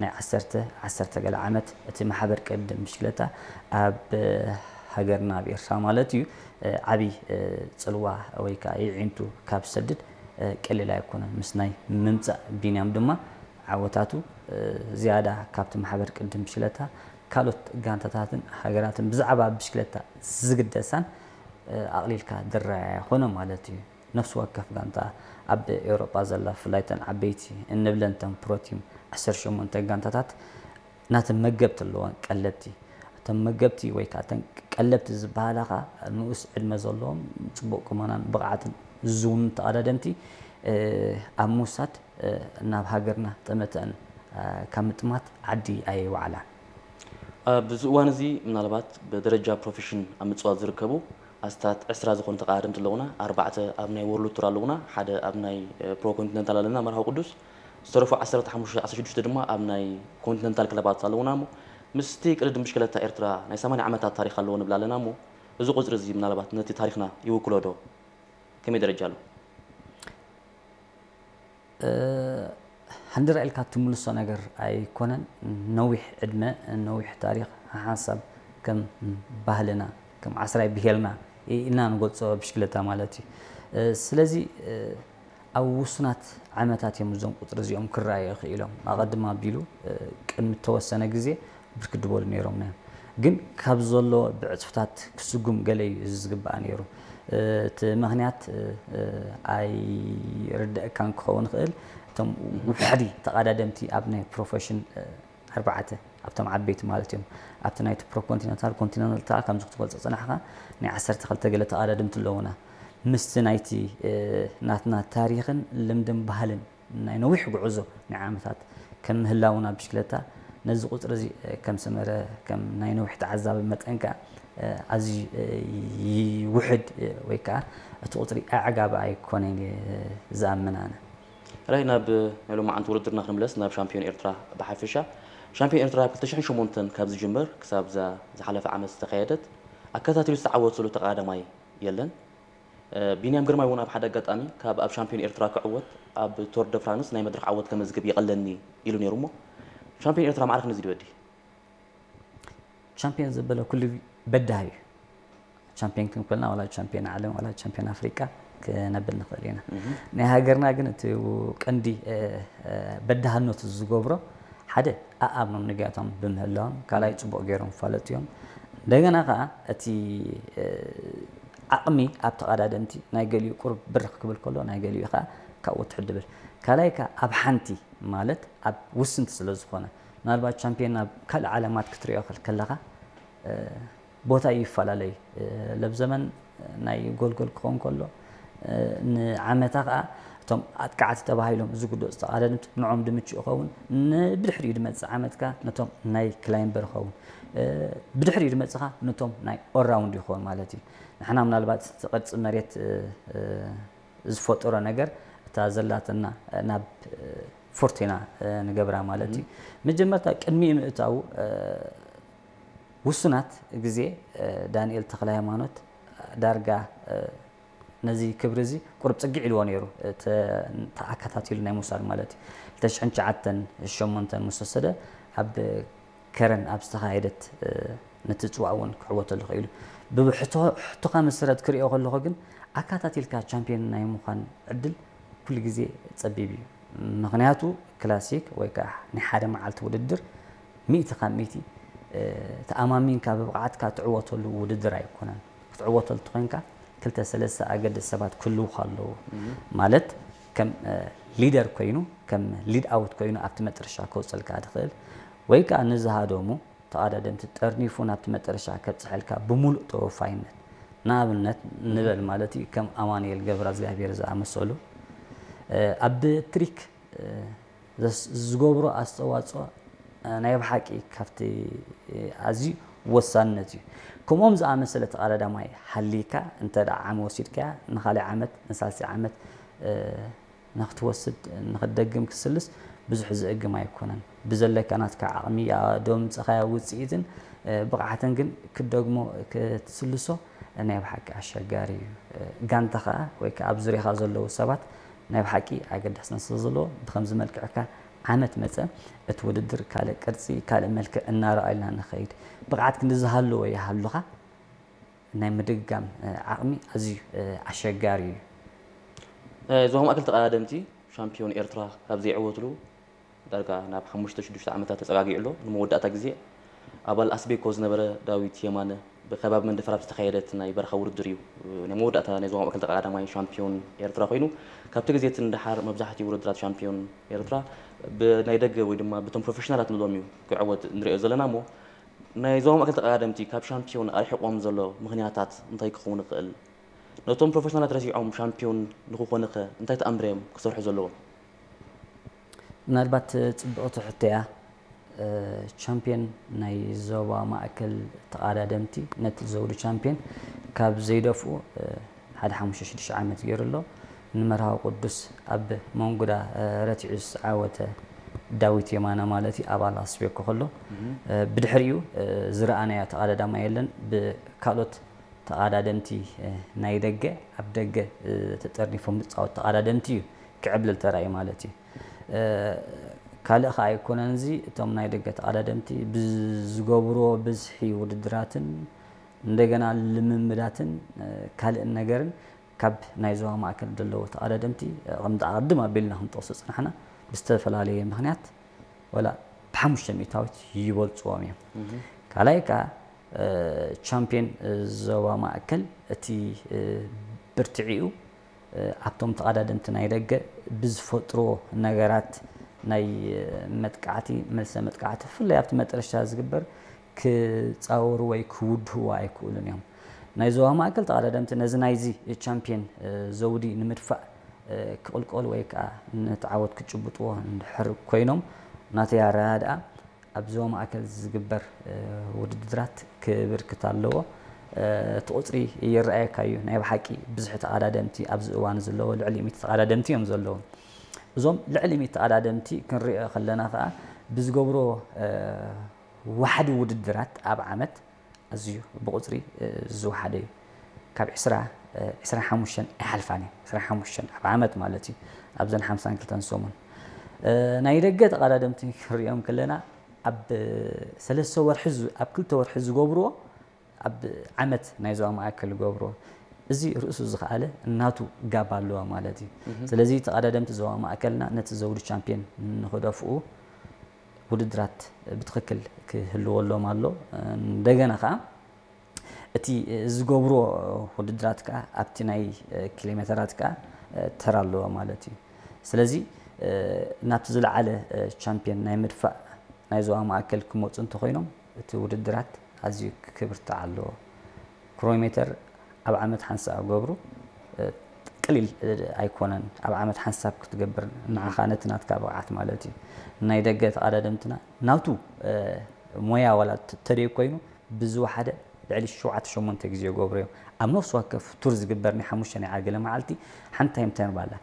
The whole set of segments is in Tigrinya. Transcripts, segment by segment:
ናይ ዓሰርተ ዓሰርተ ገለ ዓመት እቲ ማሕበር ቅድድም ብሽክለታ ኣብ ሃገርና ኣብ ኤርትራ ማለት እዩ ዓብዪ ፅልዋ ወይ ከዓ ይዒንቱ ካብ ዝሰድድ ቀሊል ኣይኮነን። ምስ ናይ ምምፃእ ቢንያም ድማ ዓወታቱ ዝያዳ ካብቲ ማሕበር ቅድድም ብሽክለታ ካልኦት ጋንታታትን ሃገራትን ብዛዕባ ብሽክለታ ዝግደሳን ኣቕሊልካ ዝረኣያ ኣይኮነን ማለት እዩ። ነፍሲ ወከፍ ጋንታ ኣብ ኤውሮጳ ዘላ ብፍላይ እተን ዓበይቲ እንብለን እተን ፕሮቲም ዓሰርተ ሸሞንተ ጋንታታት ናተን መገብቲ ኣለወን ቀለብቲ። እተን መገብቲ ወይ ከዓ እተን ቀለብቲ ዝበሃላ ከዓ ንኡስ ዕድመ ዘለዎም ፅቡቕ ቁመናን ብቕዓትን ዝውኑ ተቐዳደምቲ ኣብ ምውሳድ ናብ ሃገርና ጠመተአን ካብ ምጥማት ዓዲ ኣየዋዕላን። ኣብዚ እዋን እዚ ምናልባት ብደረጃ ፕሮፌሽን ኣብ ምፅዋት ዝርከቡ ኣስታት ዕስራ ዝኾኑ ተቐዳደምቲ ኣለውና። ኣርባዕተ ኣብ ናይ ወርልድ ቱር ኣለውና፣ ሓደ ኣብ ናይ ፕሮ ኮንቲነንታል ኣለና መርሃዊ ቅዱስ፣ ዝተረፉ ዓሰርተ ሓሙሽተ ዓሰርተ ሽዱሽተ ድማ ኣብ ናይ ኮንቲነንታል ክለባት ኣለውና። እሞ ምስቲ ቅድድም ብሽክለታ ኤርትራ ናይ ሰማንያ ዓመታት ታሪክ ኣለዎ ንብል ኣለና። እሞ እዚ ቁፅሪ እዚ ምናልባት ነቲ ታሪክና ይውክሎ ዶ? ከመይ ደረጃ ኣሎ? ሃንደራ ኢልካ ትምልሶ ነገር ኣይኮነን። ነዊሕ ዕድመ፣ ነዊሕ ታሪክ፣ ሓንሳብ ከም ባህልና፣ ከም ዓስራይ ብሄልና ኢልና ንገልፆ ብሽክለታ ማለት እዩ። ስለዚ ኣብ ውሱናት ዓመታት እዮም እዞም ቁፅሪ እዚኦም ክረኣዩ ይኽእሎም። ኣቐድም ኣቢሉ ቅድሚ ተወሰነ ግዜ ብርክት ዝበሉ ነይሮምና እዮም። ግን ካብ ዘሎ ብዕፅፍታት ክስጉም ገለ እዩ እዚ ዝግባእ ነይሩ። እቲ ምኽንያት ኣይርደእካን ክኸውን ይኽእል። እቶም ውሕዲ ተቐዳደምቲ ኣብ ናይ ፕሮፌሽን ኣርባዕተ ኣብቶም ዓበይቲ ማለት እዮም። ኣብቲ ናይቲ ፕሮ ኮንቲነንታል ኮንቲነንታል ከምዚ ክትገልፆ ዝፀናሕካ ናይ ዓሰርተ ክልተ ገለ ተቐዳደምቲ ኣለውና። ምስቲ ናይቲ ናትና ታሪኽን ልምድን ባህልን ናይ ነዊሕ ጉዕዞ ናይ ዓመታት ከም ምህላውና ብሽክለታ ነዚ ቁፅሪ እዚ ከም ሰመረ ከም ናይ ነዊሕ ተዓዛቢ መጠን ከዓ ኣዝዩ ውሕድ ወይ ከዓ እቲ ቁፅሪ ኣዕጋቢ ኣይኮነን ዝኣምን ኣነ። ራይ ናብ ናይ ሎማዓንቲ ውድድርና ክንምለስ ናብ ሻምፒዮን ኤርትራ ብሓፈሻ። ሻምፒዮን ኤርትራ ኣብ ክልተ ሽሕን ሸሞንተን ካብ ዝጅመር ክሳብ እዛ ዝሓለፈ ዓመት ዝተኻየደት ኣከታቲሉ ዝተዓወት ዘሎ ተቐዳዳማይ የለን። ቢንያም ግርማይ እውን ኣብ ሓደ ኣጋጣሚ ካብ ኣብ ሻምፒዮን ኤርትራ ክዕወት ኣብ ቶር ደ ፍራንስ ናይ መድረኽ ዓወት ከመዝግብ ይቐለኒ ኢሉ ነይሩ። እሞ ሻምፒዮን ኤርትራ ማዕረ ክንዚ ድወዲ ቻምፒዮን ዘበለ ኩሉ በዳህ እዩ። ቻምፒዮን ክንኮልና ዋላ ቻምፒዮን ዓለም ዋላ ቻምፒዮን ኣፍሪቃ ክነብል ንኽእል ኢና። ናይ ሃገርና ግን እቲ ቀንዲ በዳህነቱ ዝገብሮ ሓደ ኣኣምኖም ንግያቶም ብምህላዎም፣ ካልኣይ ፅቡቕ ገይሮም ፋለጡ እዮም። እንደገና ከዓ እቲ ዓቕሚ ኣብ ተቐዳደምቲ ናይ ገሊኡ ቁሩብ ብርኽ ክብል ከሎ ናይ ገሊኡ ከዓ ካብኡ ትሕት ድብል። ካልኣይ ከዓ ኣብ ሓንቲ ማለት ኣብ ውስንቲ ስለ ዝኾነ ምናልባት ቻምፒዮን ናብ ካልእ ዓለማት ክትሪኦ ከለኻ ቦታ ይፈላለይ። ለብ ዘመን ናይ ጎልጎል ክኸውን ከሎ ንዓመታ ከዓ እቶም ኣጥቃዕቲ ተባሂሎም ዝግደፁ ተቓደምት ንዖም ድምቹ ይኸውን። ብድሕሪኡ ድመፅእ ዓመት ከዓ ነቶም ናይ ክላይምበር ይኸውን። ብድሕሪኡ ድመፅኻ ነቶም ናይ ኦራውንድ ይኸውን ማለት እዩ። ንሕና ምናልባት እቲ ቅርፂ መሬት ዝፈጠሮ ነገር እታ ዘላትና ናብ ፎርቲና ንገብራ ማለት እዩ። መጀመርታ ቅድሚኡ ምእታው ውሱናት ግዜ ዳንኤል ተክለ ሃይማኖት ዳርጋ ነዚ ክብሪ እዚ ቁሩብ ፅግዕ ኢልዎ ነይሩ። ተኣከታቲሉ ናይ ምውሳድ ማለት እዩ። ክልተ ሽሕን ትሽዓተን ሸሞንተን ምስ ወሰደ ኣብ ከረን ኣብ ዝተኻየደት ነቲ ፅዋእ እውን ክዕወተሉ ክኢሉ። ብሕቶኻ መሰረት ክሪኦ ከለኹ ግን ኣካታቲልካ ቻምፒዮን ናይ ምዃን ዕድል ኩሉ ግዜ ፀቢብ እዩ። ምኽንያቱ ክላሲክ ወይ ከዓ ናይ ሓደ መዓልቲ ውድድር ሚእቲ ካብ ሚእቲ ተኣማሚንካ ብብቕዓትካ ትዕወተሉ ውድድር ኣይኮነን። ክትዕወተሉ ተኾይንካ ክልተ ሰለስተ ኣገደስቲ ሰባት ክህልውኻ ኣለዎ። ማለት ከም ሊደር ኮይኑ ከም ሊድ ኣውት ኮይኑ ኣብቲ መጠረሻ ከውፀልካ ዝኽእል ወይ ከዓ ንዝሃደሙ ተቐዳደምቲ ጠርኒፉ ናብቲ መጠረሻ ከብፅሐልካ ብምሉእ ተወፋይነት ንኣብነት ንበል ማለት እዩ ከም ኣማኑኤል ገብረእግዚኣብሔር ዝኣመሰሉ ኣብ ትሪክ ዝገብሮ ኣስተዋፅኦ ናይ ብሓቂ ካብቲ ኣዝዩ ወሳንነት እዩ። ከምኦም ዝኣመሰለ ተቐዳዳማይ ሃሊካ እንተ ደኣ ዓሚ ወሲድካያ ንኻልእ ዓመት ንሳልሲ ዓመት ንክትወስድ ንክትደግም ክስልስ ብዙሕ ዝእግም ኣይኮነን። ብዘለካ ናትካ ዓቕሚ ዶ ምፅኻያ ውፅኢትን ብቕዓትን ግን ክትደግሞ ክትስልሶ ናይ ብሓቂ ኣሸጋሪ እዩ። ጋንታ ከዓ ወይ ከዓ ኣብ ዙርያኻ ዘለዉ ሰባት ናይ ብሓቂ ኣገዳስነት ስለ ዘለዎ ብከምዚ መልክዕካ ዓመት መጸ እቲ ውድድር ካልእ ቅርጺ፣ ካልእ መልክዕ እናረኣየልና ንኸይድ። ብቕዓት ክንዲ ዝሃለዎ ይሃሉኻ ናይ ምድግጋም ዓቕሚ ኣዝዩ ኣሸጋሪ እዩ። ዞባ ማእከል ተቐዳደምቲ ሻምፒዮን ኤርትራ ካብ ዘይዕወትሉ ዳርጋ ናብ ሓሙሽተ ሽዱሽተ ዓመታት ተጸጋጊዑ ኣሎ። ንመወዳእታ ግዜ ኣባል ኣስቤኮ ዝነበረ ዳዊት የማነ ብከባቢ መንደፈራ ኣብ ዝተኻየደት ናይ በረኻ ውድድር እዩ ናይ መወዳእታ ናይ ዞባ ማእከል ተቐዳዳማይ ሻምፒዮን ኤርትራ ኮይኑ፣ ካብቲ ግዜ እቲ ንደሓር መብዛሕትኡ ውድድራት ሻምፒዮን ኤርትራ ብናይ ደገ ወይ ድማ ብቶም ፕሮፌሽናላት ንብሎም እዩ ክዕወት ንሪኦ ዘለና እሞ ናይ ዞባ ማእከል ተቐዳደምቲ ካብ ሻምፒዮን ኣርሒቖም ዘሎ ምኽንያታት እንታይ ክኸውን ይኽእል? ነቶም ፕሮፌሽናላት ረሲዖም ሻምፒዮን ንክኾኑ ከ እንታይ ተኣምር እዮም ክሰርሑ ዘለዎም? ምናልባት ጽብቕቲ ሕቶ እያ። ቻምፒዮን ናይ ዞባ ማእከል ተቐዳደምቲ ነቲ ዘውዲ ቻምፒዮን ካብ ዘይደፍኡ ሓደ ሓሙሽተ ሽዱሽተ ዓመት ገይሩ ኣሎ። ንመርሃዊ ቅዱስ ኣብ መንጉዳ ረቲዑ ዝዓወተ ዳዊት የማነ ማለት እዩ፣ ኣባል ኣስቤኮ ከሎ። ብድሕሪኡ ዝረኣናዮ ተቐዳዳማይ የለን። ብካልኦት ተቐዳደምቲ ናይ ደገ ኣብ ደገ ተጠርኒፎም ዝፃወት ተቐዳደምቲ እዩ ክዕብልል ተራእዩ ማለት እዩ። ካልእ ከኣ ኣይኮነን፣ እዚ እቶም ናይ ደገ ተቐዳደምቲ ብዝገብርዎ ብዝሒ ውድድራትን እንደገና ልምምዳትን ካልእን ነገርን ካብ ናይ ዞባ ማእከል ዘለዉ ተቐዳደምቲ ከምቲ ኣቐድም ኣቢልና ክንጠቕሶ ዝጸናሕና ብዝተፈላለየ ምኽንያት ወላ ብሓሙሽተ ሚእታዊት ይበልጽዎም እዮም። ካልኣይ ከኣ ቻምፒዮን ዞባ ማእከል እቲ ብርትዒኡ ኣብቶም ተቐዳደምቲ ናይ ደገ ብዝፈጥርዎ ነገራት ናይ መጥቃዕቲ፣ መልሰ መጥቃዕቲ፣ ብፍላይ ኣብቲ መጠረሽታ ዝግበር ክጻወሩ ወይ ክውድህዎ ኣይክእሉን እዮም። ናይ ዞባ ማእከል ተቐዳደምቲ ነዚ ናይዚ ቻምፒዮን ዘውዲ ንምድፋእ ክቕልቀሉ ወይ ከዓ ነቲ ዓወት ክጭብጥዎ እንድሕር ኮይኖም ናተይ ኣረዳድኣ ኣብ ዞባ ማእከል ዝግበር ውድድራት ክብርክት ኣለዎ። እቲ ቁፅሪ ይረኣየካ እዩ። ናይ ብሓቂ ብዝሒ ተቐዳደምቲ ኣብዚ እዋን ዘለዎ ልዕሊ ሚእቲ ተቐዳደምቲ እዮም ዘለዉ። እዞም ልዕሊ ሚእቲ ተቐዳደምቲ ክንሪኦ ከለና ከዓ ብዝገብሮ ዋሕዲ ውድድራት ኣብ ዓመት ኣዝዩ ብቁፅሪ ዝወሓደ እዩ። ካብ ዕስራ ዕስራን ሓሙሽተን ኣይሓልፋን እዩ። ዕስራን ሓሙሽተን ኣብ ዓመት ማለት እዩ። ኣብዘን ሓምሳን ክልተን ሰሙን ናይ ደገ ተቐዳደምቲ ክንሪኦም ከለና ኣብ ሰለስተ ወርሒ ኣብ ክልተ ወርሒ ዝገብርዎ ኣብ ዓመት ናይ ዞባ ማእከል ይገብርዎ። እዚ ርእሱ ዝኸኣለ ናቱ ጋብ ኣለዎ ማለት እዩ። ስለዚ ተቐዳደምቲ ዞባ ማእከልና ነቲ ዘውዲ ቻምፒዮን ንክደፍኡ ውድድራት ብትኽክል ክህልወሎም ኣሎ። እንደገና ከዓ እቲ ዝገብርዎ ውድድራት ከዓ ኣብቲ ናይ ኪሎሜተራት ከዓ ተራ ኣለዎ ማለት እዩ። ስለዚ ናብቲ ዝለዓለ ቻምፒዮን ናይ ምድፋእ ናይ ዞባ ማእከል ክመፁ እንተኮይኖም እቲ ውድድራት ኣዝዩ ክብርትዕ ኣለዎ። ክሮሜተር ኣብ ዓመት ሓንሳብ ገብሩ ቅሊል ኣይኮነን። ኣብ ዓመት ሓንሳብ ክትገብር ንዓኻ ነቲ ናትካ ብቕዓት ማለት እዩ። ናይ ደገ ተቐዳደምትና ናቱ ሞያ ዋላ ተደይ ኮይኑ ብዝወሓደ ልዕሊ ሸውዓተ ሸሞንተ ግዜ ይገብሩ እዮም። ኣብ ነፍሲ ወከፍ ቱር ዝግበር ናይ ሓሙሽተ ናይ ዓርገለ መዓልቲ ሓንቲ ታይም ትራያል ኣላ።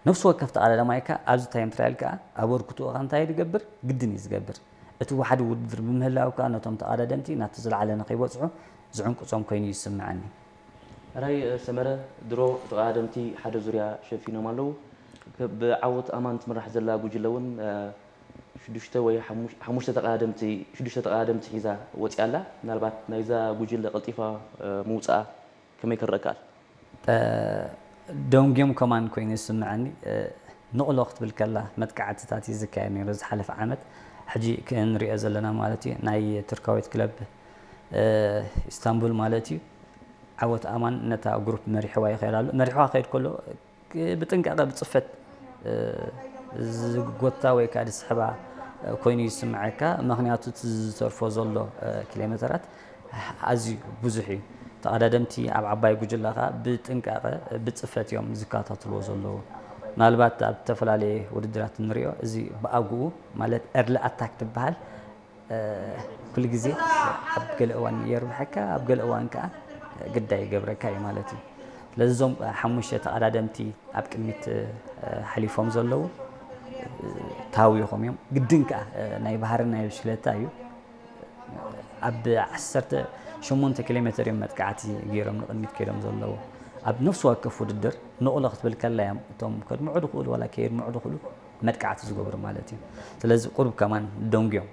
ነፍሲ ወከፍ ተቐዳዳማይ ከኣ ኣብዚ ታይም ትራያል ከኣ ኣበርክትኡ ከኣ እንታይ ይገብር? ግድን እዩ ዝገብር። እቲ ዋሕዲ ውድድር ብምህላው ከኣ ነቶም ተቐዳደምቲ ናብቲ ዝለዓለ ንኸይበጽሑ ዝዕንቅጾም ኮይኑ ይስምዓኒ። ሕራይ ሰመረ፣ ድሮ ተቐዳደምቲ ሓደ ዙርያ ሸፊኖም ኣለዉ። ብዓወት ኣማን ትምራሕ ዘላ ጉጅለ እውን ሽዱሽተ ወይ ሓሙሽተ ተቐዳደምቲ ሽዱሽተ ተቐዳደምቲ ሒዛ ወፂኣ ኣላ። ምናልባት ናይዛ ጉጅለ ቀልጢፋ ምውፅኣ ከመይ ክረአ ይከኣል? ደንጉዮም ከማን ኮይኑ ይስምዐኒ። ንቕሎ ክትብል ከላ መጥቃዕትታት እዩ ዝካየድ ነይሩ ዝሓለፈ ዓመት። ሕጂ ክንሪኦ ዘለና ማለት እዩ ናይ ቱርካዊት ክለብ ኢስታንቡል ማለት እዩ። ዓወት ኣማን ነታ ግሩፕ መሪሕዋ ይኸይድ ኣሎ። መሪሕዋ ክኸይድ ከሎ ብጥንቃቐ ብፅፈት ዝጎታ ወይ ከዓ ዝስሕባ ኮይኑ ይስምዐካ። ምክንያቱ እቲ ዝተርፎ ዘሎ ኪሎሜተራት ኣዝዩ ብዙሕ እዩ። ተቐዳደምቲ ኣብ ዓባይ ጉጅለ ከዓ ብጥንቃቐ ብፅፈት እዮም ዝከታተልዎ ዘለዉ። ምናልባት ኣብ ዝተፈላለየ ውድድራት እንሪኦ እዚ ብኣግኡ ማለት early attack ትበሃል ኩሉ ግዜ ኣብ ገለ እዋን የርብሐካ፣ ኣብ ገለ እዋን ከዓ ግዳይ ይገብረካ እዩ ማለት እዩ። ስለዚ እዞም ሓሙሽተ ተቐዳደምቲ ኣብ ቅድሚት ሓሊፎም ዘለዉ ታዊኾም እዮም። ግድን ከዓ ናይ ባህሪ ናይ ብሽክለታ እዩ። ኣብ ዓሰርተ ሸሞንተ ኪሎ ሜትር እዮም መጥቃዕቲ ገይሮም ንቕድሚት ከይዶም ዘለዉ። ኣብ ነፍሲ ወከፍ ውድድር ንቕሎ ክትብል ከላ እዮም እቶም ከድምዑ ድኽእሉ ዋላ ከየድምዑ ድኽእሉ መጥቃዕቲ ዝገብሩ ማለት እዩ። ስለዚ ቁሩብ ከማን ደንጉዮም